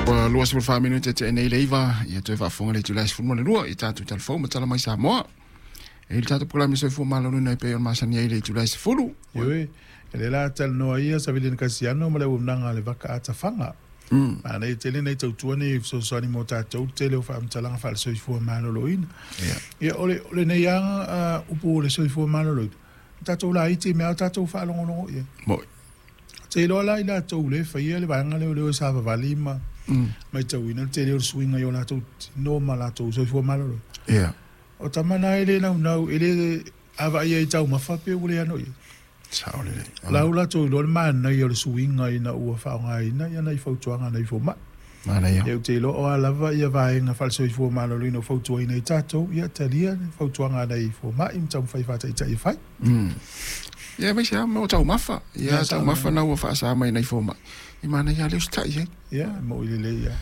Ua 24 minute te nei leiva ia toe faafofoga le itula e 12 i tatou talafou ma tala mai Samoa. E i le tatou polokalame soifua maloloina e pei ona masani ai i le itula e 10. Ioe, e le la talanoa ia Savilina Kasiano ma le auaunaga a le Vaka a Tafaga. Manaia tele nai tautua nei e fesoasoani mo tatou le tele o faamatalaga faale-soifua maloloina. Ia, o le, o lenei lava upu o le soifua maloloina, o tatou laiti mea o tatou faalogologo i ai. Moi. Te iloa la i latou le faia le vaega lea o le o e savavali ma matauina le tele o le suiga i o latou tino ma latou soifua maloloina. O tama na e le naunau, e le a vaai ai i taumafa pe ua le ano i ai. Sao lelei. La ua latou iloa le manaia o le suiga ina ua faaaogaina ia nai fautuaga a nai fomai. Manaia. Ia ou te iloa o a lava ia vaega faale-soifua maloloina o fautuaina ai tatou, ia talia le fautuaga a nai fomai ma taumafai e faataitai e fai. Ia aemaise lava mo taumafa. Ia taumafa na ua faasa mai nai fomai. E manaia lava le usitai i ai. Ia, e moi lelei lava.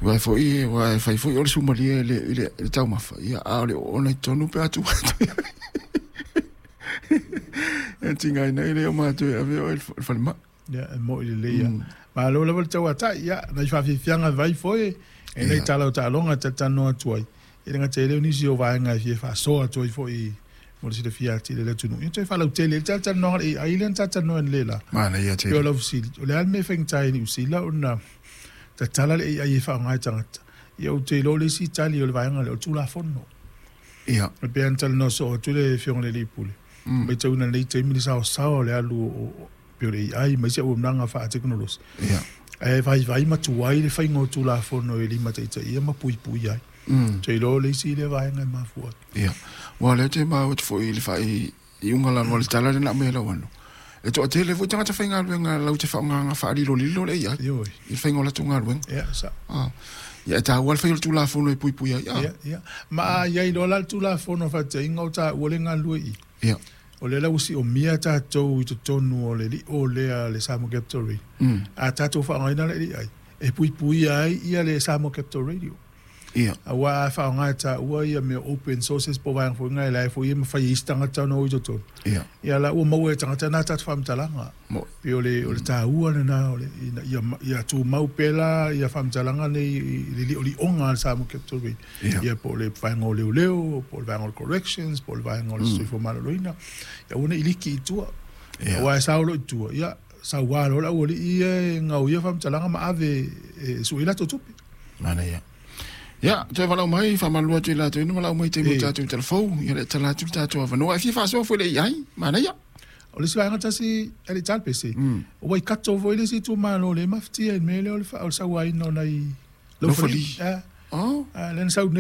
Aua foi, aua e fai foi o le sumalie i le, i le taumafa, ia, a o le oona i totonu pe a tuu atu i ai. E tigaina ai le oma atu e ave oe i le falemai. Ia, e moi lelei lava. Malo lava le tauatai, ia, nai faafiafiaga vai foi, e nai tala o taaloga e talatalanoa atu ai. E le gata i lea o nisi o vaega e fia faasoa atu ai foi mo le silafia atili e le atunuu. Ia toe faalautele ai le talatalanoaga o le AI lea na talatalanoa nei la. Manaia tele. Pei o lau fesili, o le a le mea e faigata ai i Niu Sila ona tatala le AI e faaaoga e tagata? Ia ou te iloa o le isi tali o le vaega lea o le Tulafono. Ia. E pei ona talanoa soo atu le Afioga i le Alii Pule, matauina i lenei taimi le saosaoa o le alu o pei o le AI ma isi auaunaga faatekonolosi. Ia. Ae vaivai ma tuai le faiga o Tulafono e limataitaia ma puipuia ai. Ou te iloa o le isi lea vaega e mafua atu. Ia. Aua o lea ou te maua atu foi i le faaiuga lava o le tala lea na aumai e lau ano, e toatele foi tagata faigaluega latou te faaaogaina faalilolilo le AI Ioe. i le faiga o latou galuega. Ia, sao. Ia, e taua le fai o le Tulafono e puipuia ai. Ia, ia. Ma a i ai loa la le Tulafono faataitaiga o taua le galulue i i. Ia. O lea la ua siomia tatou i totonu o le lio lea a le Samoa Capital Radio. A tatou faaaogaina le AI, e puipuia ai ia le Samoa Capital Radio. Ia. Aua a faaaoga e taua ia mea open sources po o vaega foi na, la e foi e mafai e isi tagata ona o i totonu. Ia. Ia la ua maua e tagata na tatou faamatalaga. Moi. Pei o le, o le taua lena o le, ina ia, ia tumau pea la ia faamatalaga nei i le liolioga a le Samoa Capital Radio. Ia. Ia po o le vaega o leoleo, po o le vaega o le corrections, po o le vaega o le soifua maloloina. Ia aua ne i liki i tua. Ia. Aua e sao loa i tua, ia saua loa le aualii ia e gaoia faamatalaga ma ave e sue ai latou tupe. Manaia. Ia, toe valaau mai, faamalulu atu i latou ina valaau mai i taimi o tatou talafou, ia le tala atu le tatou avanoa. E fia faasoa foi le AI, manaia. O le isi vaega tasi e le i talapese, o Waikato foi le isi itumalo o lea e mafatia i le mea lea o le sauaina o nai laufali. Lea na sau nei.